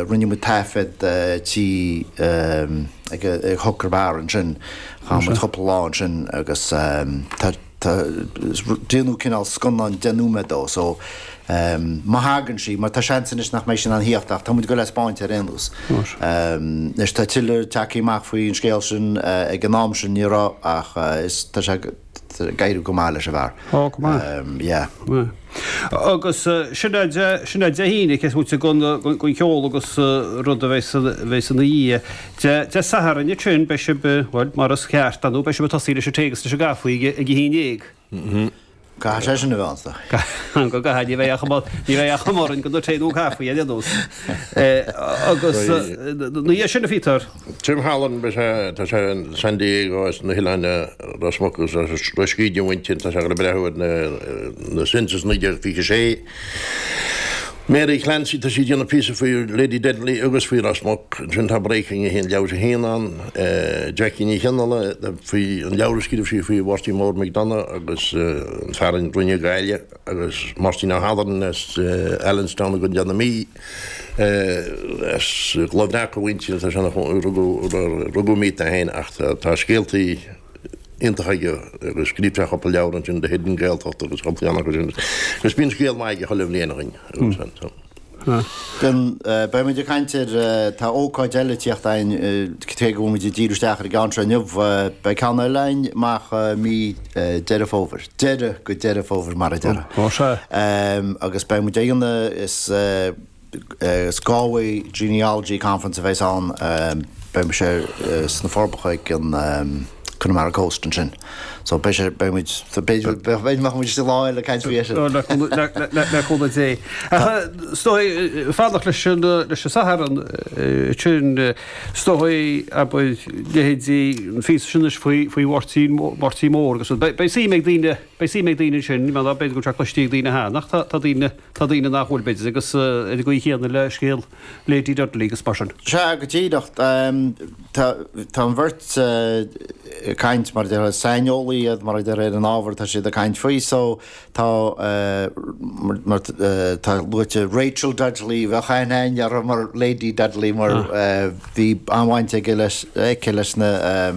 Rinne muid taifead tí ag Hooker Bar ansin, chaith muid cúpla lá ansin agus tá déanadh cineál scannán 10 nóiméad dó so má thagann sí, mar tá seans anois nach mbeidh sí in ann theacht ach tá muid ag goil á spáint ar aon nós. Anois tá tuilleadh tagtha amach faoin scéal sin, ag an am sin ní raibh ach is tá sé ag éirí go maith leis an bhfear. Ó, go maith. Yeah. Agus sin é sin é Dé hAoine, cé is moite den den cheol agus rud a bheas bheas ina dhiaidh. Dé Dé Sathairn ansin beidh sibh, bhuel, mar is ceart, ar ndóigh, beidh sibh ag tosaí leis an tae agus leis an gcaife ag ag a haon dhéag. Caithfidh sé sin a bheith ann. Go gcaithfidh, ní bheidh ach ní bheidh ach am orainn don tae nó an caife ar aon nós. Agus ina dhiaidh sin, a Phíotair. Tim Halloran, beidh sé, tá sé in San Diego as na hoileáin Ros Muc agus Ros Goill a mhuintir, tá sé ag breathnú ar na Census 1926. Mary Clancy, tá sí ag déanamh píosa faoi Lady Dudley agus faoi Ros Muc. Ansin tá Breaking 1 leabhar 1 ann. Jackie Ní Chionnaile, faoi an leabhar a scríobh sí faoi Mháirtín Mór McDonagh agus an fear a rinne Gaillimh agus Máirtín Ó hAdhairn as Allenstown i gContae na Mí. As Loch Bhreac a mhuintir, tá sé ina rugadh i Míth é féin ach tá scéaltaí iontacha aige agus scríobh sé cúpla leabhar ansin, The Hidden Gaeltacht agus cúpla ceann acu sin agus bíonn scéal maith aige chuile bhliain againn agus Bíonn, beidh muid ag caint ar, tá ócáid eile ag tíocht againn, cé go bhfuil muid ag díriú isteach ar an gceann seo inniu, beidh ceann eile againn amach mí Deireadh Fómhair. Deireadh go Deireadh Fómhair mar a déarfá. Ó sea. Agus beidh muid ag an, is is Galway Genealogy Conference a bheas ann, beidh sé sna Forbacha ag an Connemara Coast ansin. So beidh sé, beidh muid, b'fhéidir, b'fhéidir go mbeadh muid istigh lá eile ag caint faoi sin. Le cúnamh Dé. Ach is dóigh, fanacht leis an, leis an Satharn sin, Is dóigh, abair, leithéidí an phíosa sin anois faoi, faoi Mháirtín, Máirtín Mór agus rud. Beidh suim ag daoine, beidh suim ag daoine ansin, mar b'fhéidir go bhfuil sé cloiste ag daoine cheana, ach tá, tá daoine, tá daoine nach bhfuil, b'fhéidir, agus ar an gcaoi chéanna le scéal Lady Dudley agus mar sin. Sea, go díreach. Tá, tá an bheirt ag caint, mar a déarfá, saineolaí iad, mar a déarfá, ar an ábhar atá siad ag caint faoi, so, Tá mar tá luaite Rachel Dudley, bheadh aithne againn uirthi mar Lady Dudley mar bhí an-bhaint aige leis, aici leis na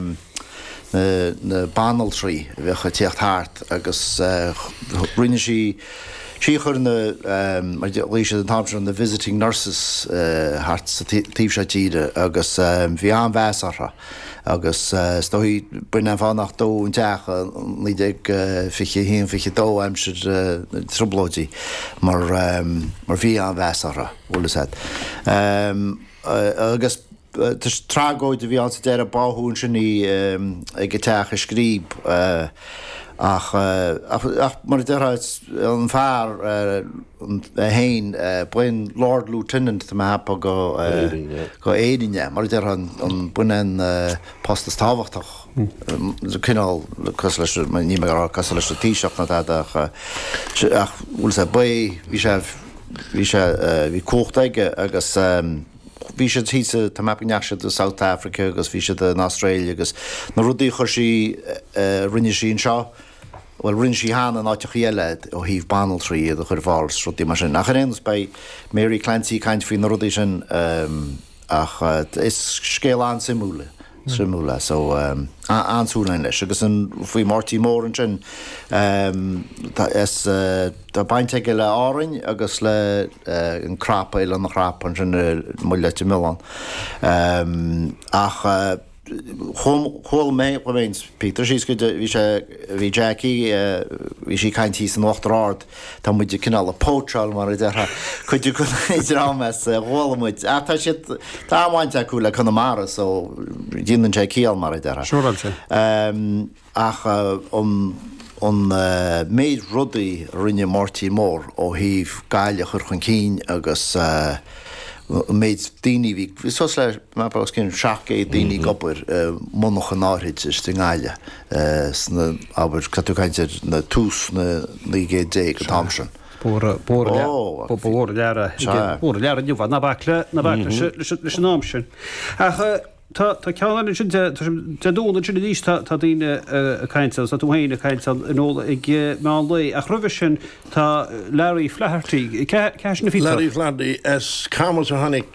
na banaltraí a bheadh ag tíocht thart agus rinne sí, sí a chuir na, mar a ghlaoigh siad an t-am sin na visiting nurses thart sa taobh seo tíre agus bhí an-mheas orthu. Agus is dóigh, b'in an fáth nach dódh an teach i 1921, 22, aimsir na dTrioblóidí, mar mar bhí an-mheas orthu, bhfuil fhios a'd. Agus tragóid a bhí ann sa deireadh, báthadh ansin í ag a teach i Scríb. Ach, ach mar a déarfá, an fear é féin, b'in Lord Lieutenant, tá mé a cheapadh, go, go Éirinn é, mar a déarfá, an, b'in an post is tábhachtach, cineál cosúil leis, níl mé ag rá cosúil leis an Taoiseach ná tada ach, ach bhfuil fhios a'd, ba é, bhí sé, bhí sé, bhí cumhacht aige agus. Bhí siad thíos, tá mé ag ceapadh go ndeachaigh siad i South Africa agus bhí siad in Australia agus na rudaí a chuir sí, a rinne sí anseo, bhuel rinne sí cheana in áiteachaí eile ó thaobh banaltraí iad a chur ar fáil is rudaí mar sin. Ach ar aon nós beidh Mary Clancy ag caint faoi na rudaí sin ach is scéal an-suimiúil é. Suimiúil é so an-súil againn leis. Agus an faoi Máirtín Mór ansin tá is tá baint aige le Árainn agus le an Cnap, Oileán an Chnap ansin i mBaile Leitir Mealláin. Ach chuala mé chuala mé Peter síos go bhí sé bhí Jackie bhí sí ag caint thíos in Uachtar Ard Tá muid ag cineál ag póitseáil mar a déarfá cuid de an dream as a chuala muid. Ach tá siad, tá an-bhaint acu le Conamara so déanann sé ciall mar a déarfá. Siúráilte. Ach an an méid rudaí a rinne Máirtín Mór ó thaobh Gaillimh a chur chun cinn agus an méid daoine a bhí, bhí suas le, os cionn 700 daoine ag obair i monarchan áithrid istigh i nGaillimh. sna, abair, tá tú ag caint ar na tús na 19 gcéad an t-am sin. Ba mhór an lear é, mhór an lear inniu, ná bac le, ná bac leis an am sin. Ach tá ceann eile ansin, Dé Domhnaigh ansin arís tá daoine ag caint ann, tá tú féin ag caint ann in Óla ag meán lae, ach roimhe sin tá Larry Flaherty, cé hé sin a Phíotair? Larry Flaherty as Camas a tháinig.